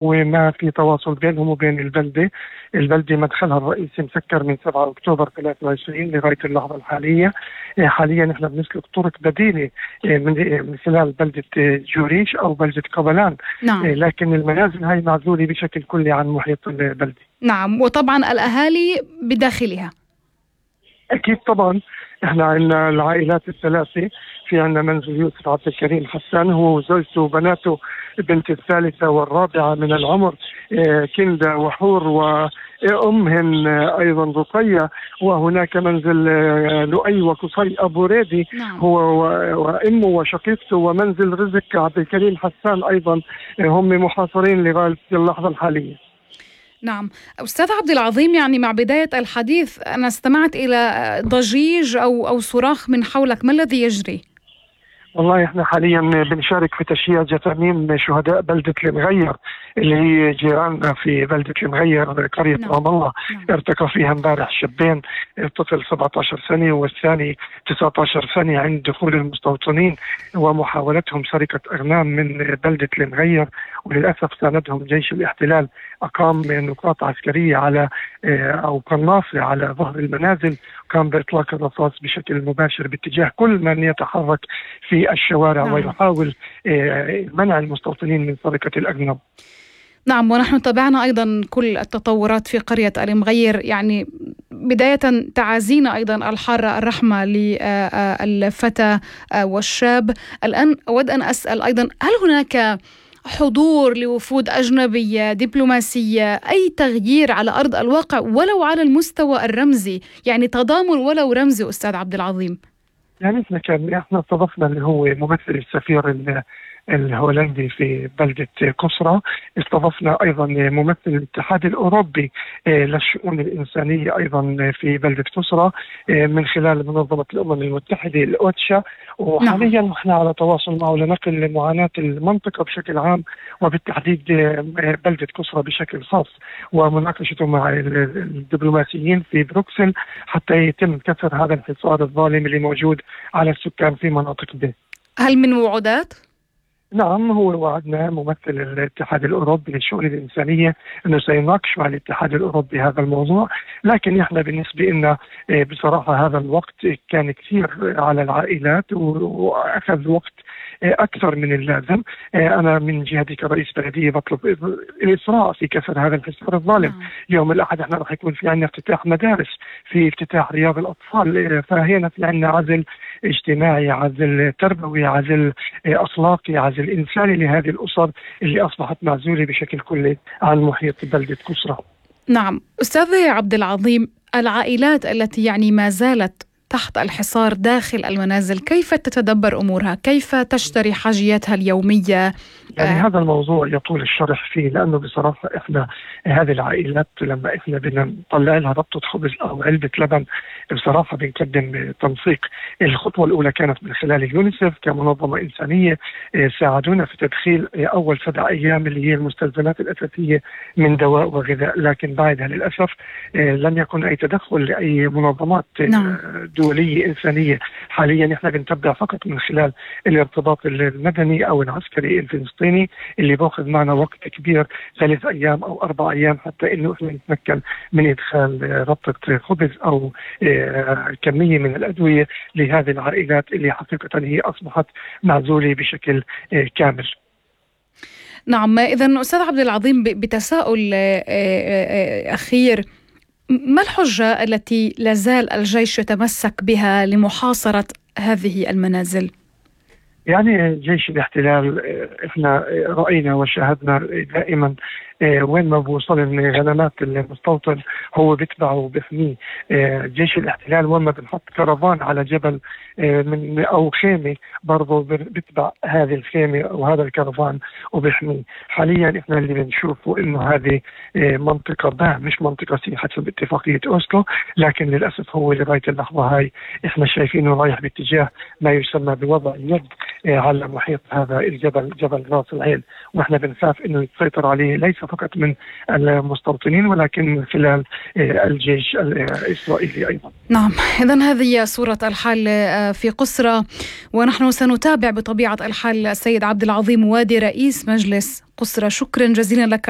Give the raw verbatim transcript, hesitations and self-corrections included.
وما في تواصل بينهم وبين البلدة. البلدة مدخلها الرئيسي مسكر من سبعة أكتوبر ثلاثة وعشرين لغاية اللحظة الحالية. آه، حاليا نحن بنسلك طرق بديلة آه، من آه، من خلال بلدة آه، جوريش أو بلدة قبلان. نعم. آه، لكن المنازل هاي معزولة بشكل كلي عن محيط البلدة. نعم، وطبعا الأهالي بداخلها. أكيد طبعا. احنا عندنا العائلات الثلاثة. في عندنا منزل يوسف عبد الكريم حسان، هو وزوجته وبناته، بنت الثالثة والرابعة من العمر آه، كندا وحور، وأمهن آه، أيضا رقية. وهناك منزل آه، لؤي وقصي أبو ريدي، نعم. هو و- وأمه وشقيقته، ومنزل رزق عبد الكريم حسان أيضا آه، هم محاصرين لغاية اللحظة الحالية. نعم أستاذ عبد العظيم، يعني مع بداية الحديث أنا استمعت إلى ضجيج أو أو صراخ من حولك، ما الذي يجري؟ والله احنا حاليا بنشارك في تشييع جثامين شهداء بلدة المغير اللي هي جيراننا في بلدة المغير، قرية نعم. رام الله. نعم. ارتقى فيها امبارح شابين، الطفل سبعة عشر سنة والثاني تسعة عشر سنة، عند دخول المستوطنين ومحاولتهم سرقة أغنام من بلدة المغير. وللأسف ساندهم جيش الاحتلال، أقام نقاط عسكرية على اه، أو قناصة على ظهر المنازل، كان بإطلاق الرصاص بشكل مباشر باتجاه كل من يتحرك في الشوارع. نعم. ويحاول اه، منع المستوطنين من سرقة الأغنام. نعم، ونحن تابعنا أيضا كل التطورات في قرية المغير. يعني بداية تعازينا أيضا الحارة الرحمة للفتى والشاب. الآن أود أن أسأل أيضا، هل هناك حضور لوفود أجنبية دبلوماسية، أي تغيير على أرض الواقع ولو على المستوى الرمزي، يعني تضامن ولو رمزي أستاذ عبد العظيم؟ يعني احنا كان احنا استضفنا اللي هو ممثل السفير ال- الهولندي في بلدة قصرى. استضفنا أيضا ممثل الاتحاد الأوروبي آه، للشؤون الإنسانية أيضا في بلدة قصرى آه، من خلال منظمة الأمم المتحدة الأوتشا. وحاليا نحن على تواصل معه لنقل معاناة المنطقة بشكل عام، وبالتحديد آه، بلدة قصرى بشكل خاص، ومناقشته مع ال- الدبلوماسيين في بروكسل حتى يتم كسر هذا الحصار الظالم اللي موجود على السكان في مناطق به. هل من وعودات؟ نعم، هو وعدنا ممثل الاتحاد الأوروبي للشؤون الإنسانية أنه سيناقش مع الاتحاد الأوروبي هذا الموضوع. لكن إحنا بالنسبة لنا آه، بصراحة هذا الوقت كان كثير على العائلات، و- وأخذ وقت آه، أكثر من اللازم. آه، أنا من جهتي كرئيس بلدية بطلب الإسراع في كسر هذا الحصار الظالم. نعم. يوم الأحد احنا رح يكون في عندنا افتتاح مدارس، في افتتاح رياض الأطفال، آه، فهنا في عندنا عزل اجتماعي، عزل تربوي، عزل آه، أخلاقي، عزل إنساني لهذه الأسر اللي أصبحت معزولة بشكل كلي عن محيط بلدة قصرى. نعم أستاذ عبد العظيم، العائلات التي يعني ما زالت تحت الحصار داخل المنازل، كيف تتدبر أمورها؟ كيف تشتري حاجياتها اليومية؟ يعني آه. هذا الموضوع يطول الشرح فيه، لأنه بصراحة إحنا هذه العائلات لما إحنا بدنا نطلع لها ربطة خبز أو علبة لبن بصراحة بنقدم تنسيق. الخطوة الأولى كانت من خلال اليونيسف كمنظمة إنسانية، آه، ساعدونا في تدخيل آه، أول سبع أيام اللي هي المستلزمات الأساسية من دواء وغذاء. لكن بعدها للأسف آه، لم يكن أي تدخل لأي منظمات آه، نعم. دولية إنسانية. حاليا إحنا بنتبع فقط من خلال الارتباط المدني أو العسكري الفلسطيني اللي باخذ معنا وقت كبير، ثلاث أيام أو أربع أيام، حتى إنه إحنا نتمكن من إدخال آه، ربطة خبز أو آه، كمية من الأدوية لهذه العائلات اللي حقيقة هي أصبحت معزولة بشكل آه، كامل. نعم، إذن أستاذ عبد العظيم، ب- بتساؤل آه، آه، آه، أخير، ما الحجة التي لازال الجيش يتمسك بها لمحاصرة هذه المنازل؟ يعني جيش الاحتلال آه، احنا آه، رأينا وشاهدنا دائما آه، وين ما بوصل غنمات المستوطن هو بيتبعه وبيحميه. آه، جيش الاحتلال وين ما بنحط كرفان على جبل آه، من او خيمه برضه بيتبع هذه الخيمه او هذا الكرفان وبيحميه. حاليا احنا اللي بنشوفه انه هذه آه، منطقه باع مش منطقه سي حسب اتفاقيه اوسلو، لكن للاسف هو لغايه اللحظه هاي احنا شايفينه رايح باتجاه ما يسمى بوضع يد آه، على محيط هذا الجبل، جبل راس العين. واحنا بنخاف انه يتسيطر عليه ليس فقط من المستوطنين ولكن من خلال الجيش الإسرائيلي أيضا. نعم، إذن هذه صورة الحال في قسرى، ونحن سنتابع بطبيعة الحال. السيد عبد العظيم وادي رئيس مجلس قسرى، شكرا جزيلا لك